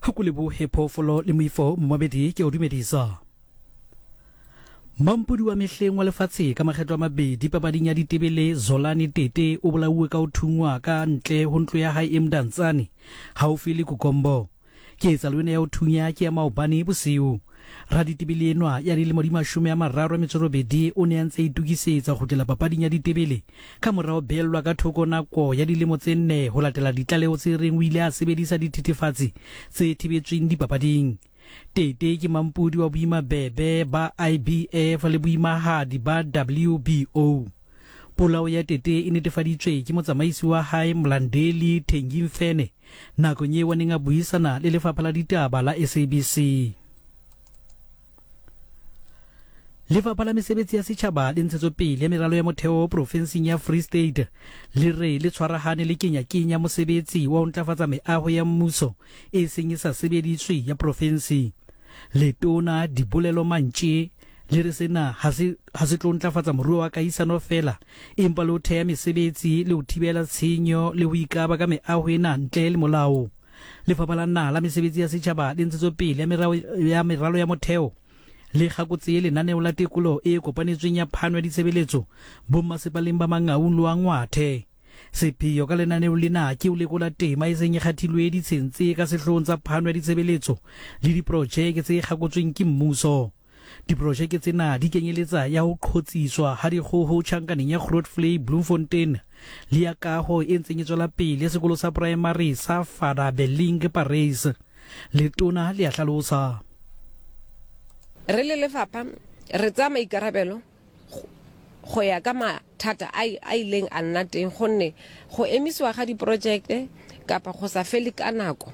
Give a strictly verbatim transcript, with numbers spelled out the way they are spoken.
Go lebohe phoofolo le moifo momamedi, ke o dumedisa. Mampodi wa mehleng wa lefatshe ka makgetlo a mabedi papading ya ditebele Zolani Tete o bolauwe ka ho thungwa ka ntle ho ntlo ya hae e Mdantsane haufi le Kukombo. Ketsahalo ena ya ho thunya ke ya maobane bosiu. Raditebele enwa ya dilemo di mashome a mararo a metso robedi o ne a ntse a itokisetsa ho kgutlela papading ya ditebele ka mora ho beellwa ka thoko nako ya dilemo tse nne ho latela ditlaleho tse reng o ile a sebedisa dithethefatsi tse thibetsweng dipapading. Tete ke mampodi wa boimabebe ba I B F le boimahadi ba W B O. Polao ya Tete e netefaditswe ke motsamaisi wa hae Mlandeli Thengimfene nakong eo a neng a buisana le lefapha la ditaba la S A B C. Lefapha la mesebetsi ya setjhaba le ntshetsopele ya meralo ya motheo profenseng ya Free State le re le tshwarahane le kenya-kenya mosebetsi wa ho ntlafatsa meaho ya mmuso e seng e sa sebediswe ya profensi. Letona Dibolelo Mantše le re sena ha se ha se tlo ntlafatsa moruo wa kahisano feela, empa le ho theha mesebetsi le ho thibela tshenyo le ho ikaba ka meaho ena ntle le molao. Lefapha la naha la mesebetsi ya setjhaba le ntshetsopele ya meralo ya meralo ya motheo le kgakotse lenaneo la tekolo e kopanetsweng ya phano ya ditshebeletso bommasepaleng ba Mangaung le wa Ngwathe. Sepheo ka lenaneo lena ke ho lekola tema e seng e kgathilwe ditsheng tse ka sehloohong tsa phano ya ditshebeletso le diprojeke tse kgakotsweng ke mmuso. Diprojeke tsena di kenyeletsa ya ho qhotsiswa ha dikgoho tjhankaneng ya Grootvlei Bloemfontein le ya kaho e ntseng e tswela pele sekolo sa primary sa Father Belling Paris. Letona le a hlalosa. Re le lefapha re tsaya maikarabelo go ya ka mathata a a ileng a nna teng, gonne go emisiwa ga diprojekte kapa go sa fele ka nako